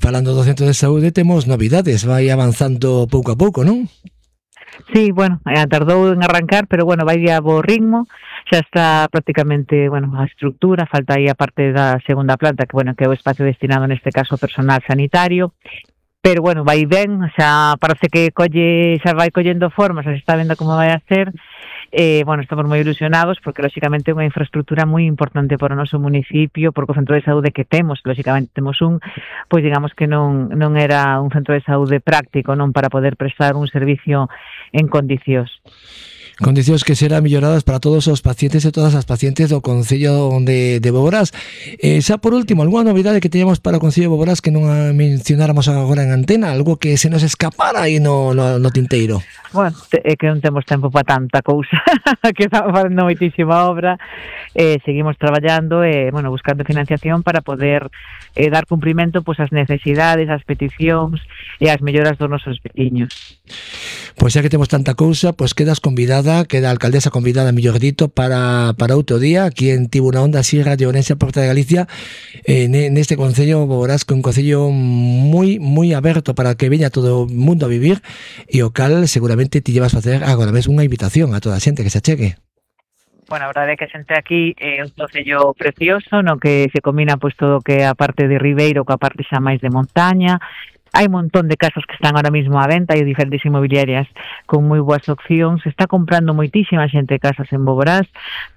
Falando do centro de saúde, temos novidades, vai avanzando pouco a pouco, non? Sí, bueno, tardou en arrancar, pero bueno, vai a bo ritmo, xa está prácticamente, bueno, a estructura, falta aí a parte da segunda planta, que bueno, que é o espacio destinado neste caso ao personal sanitario, pero bueno, vai ben, xa parece que xa vai collendo forma, xa se está vendo como vai a ser. Bueno, estamos moi ilusionados porque lóxicamente é unha infraestructura moi importante para o noso municipio, porque o centro de saúde que temos, lóxicamente temos pois digamos que non era un centro de saúde práctico, non para poder prestar un servicio en condicións. Condicións que serán melloradas para todos os pacientes e todas as pacientes do Concello de Boborás. Xa por último, algunha novidade que teñamos para o Concello de Boborás que non mencionáramos agora en antena, algo que se nos escapara aí no tinteiro? Bueno, é que non temos tempo para tanta cousa, que estamos facendo moitísima obra, seguimos traballando e, bueno, buscando financiación para poder dar cumprimento pois ás necesidades, ás peticións e ás melloras dos nosos veciños. Pois xa que temos tanta cousa, pois queda a alcaldesa convidada, mellor dito, para outro día, aquí en Tibuna Onda, Sierra de Ourense, Porta de Galicia, neste Concello Boborás, que é un concello moi, moi aberto para que veña todo o mundo a vivir, e o cal seguramente ti llevas a facer agora mesmo unha invitación a toda a xente que se achegue. Bueno, a verdade é que a xente aquí é un concello precioso, no que se combina pois todo o que é a parte de Ribeiro coa parte xa máis de montaña. Hai un montón de casas que están ahora mismo á venta, hai diferentes inmobiliarias con moi boas opcións, está comprando moitísima xente casas en Boborás,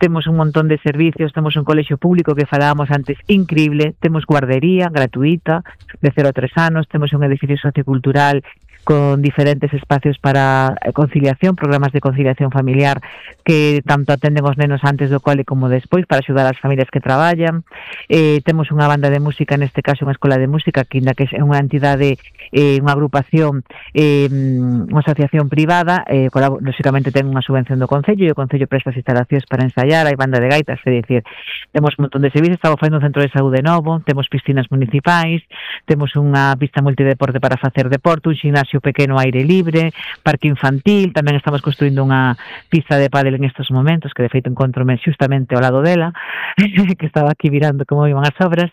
temos un montón de servicios, temos un colexio público que falábamos antes increíble, temos guardería gratuita de 0 a 3 anos, temos un edificio sociocultural con diferentes espacios para conciliación, programas de conciliación familiar que tanto atenden os nenos antes do cole como despois para axudar as familias que traballan. Temos unha banda de música, neste caso unha escola de música, que ainda que é unha entidade, unha agrupación, unha asociación privada, lógicamente ten unha subvención do Concello e o Concello presta as instalacións para ensaiar, hai banda de gaitas, é dicir, temos un montón de servicios, estamos facendo un centro de saúde novo, temos piscinas municipais, temos unha pista multideporte para facer deporte, un gimnasio pequeno aire libre, parque infantil, tamén estamos construindo unha pista de pádel en estes momentos, que de feito encontrome xustamente ao lado dela, que estaba aquí mirando como iban as obras,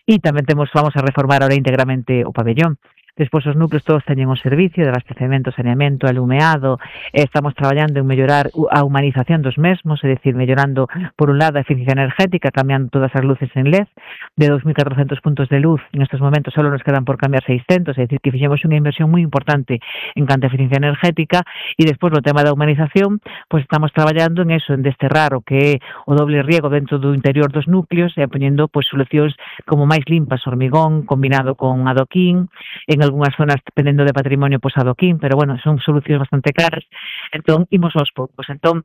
e tamén vamos a reformar ahora íntegramente o pabellón. Despois os núcleos todos teñen o servicio de abastecemento, saneamento, alumeado, estamos traballando en mellorar a humanización dos mesmos, é dicir, mellorando por un lado a eficiencia energética, cambiando todas as luces en LED, de 2.400 puntos de luz, en estes momentos só nos quedan por cambiar 600, é dicir, que fixemos unha inversión moi importante en canto a eficiencia energética, e despois no tema da humanización, pois estamos traballando en eso, en desterrar o que é o doble riego dentro do interior dos núcleos e poñendo pois solucións como máis limpas, hormigón, combinado con adoquín, en algunhas zonas dependendo de patrimonio pois adoquín, pero bueno, son solucións bastante caras, entón imos aos poucos. Entón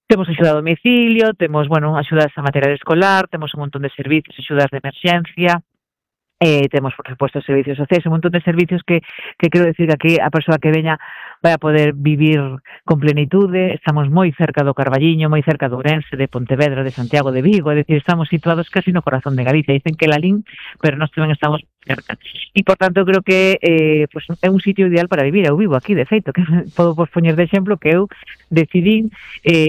temos axuda a domicilio, temos, bueno, axudas a material escolar, temos un montón de servicios, axudas de emerxencia, temos, por supuesto, servicios sociais, un montón de servicios que quero decir que aquí a persoa que veña vai a poder vivir con plenitude. Estamos moi cerca do Carballiño, moi cerca do Ourense, de Pontevedra, de Santiago, de Vigo, é dicir, estamos situados casi no corazón de Galicia. Dicen que Lalín, pero nós tamén estamos cerca. E, por tanto, creo que pues, é un sitio ideal para vivir. Eu vivo aquí, de feito, que podo poñer de exemplo que eu decidín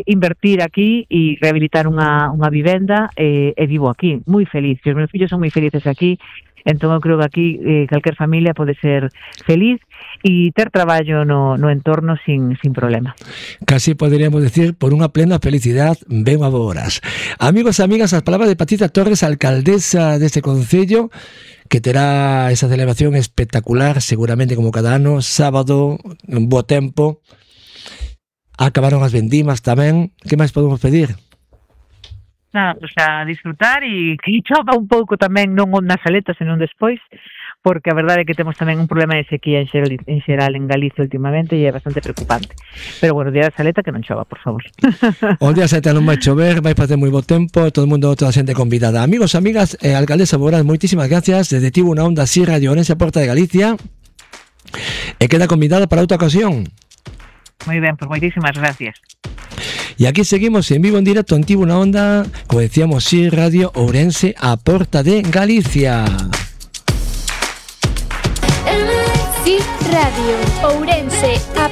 invertir aquí e rehabilitar unha vivenda e vivo aquí, moi feliz. Os meus fillos son moi felices aquí. Entón eu creo que aquí calquer familia pode ser feliz e ter traballo no entorno sin problema. Casi poderíamos decir, por unha plena felicidade, ben a Boborás. Amigos e amigas, as palabras de Patricia Torres, alcaldesa deste concello, que terá esa celebración espectacular, seguramente como cada ano, sábado, bo tempo. Acabaron as vendimas tamén. Que máis podemos pedir? Nada, pues a disfrutar e que chova un pouco tamén, non nas aletas, senón despois, porque a verdade é que temos tamén un problema de sequía en xeral en Galicia últimamente e é bastante preocupante. Pero bueno, o día da saleta que non chova, por favor. O día da saleta non vai chover, vai facer moi bo tempo, todo o mundo, toda a xente convidada. Amigos, amigas, alcaldesa Boborás, moitísimas gracias. Desde Tibuna Onda, Sierra de Ourense, Porta de Galicia. E queda convidada para outra ocasión. Moi ben, pues moitísimas gracias. E aquí seguimos en vivo en directo en Tibuna Onda, como decíamos, sí, Radio Ourense, a Porta de Galicia. Sí, Radio Ourense, a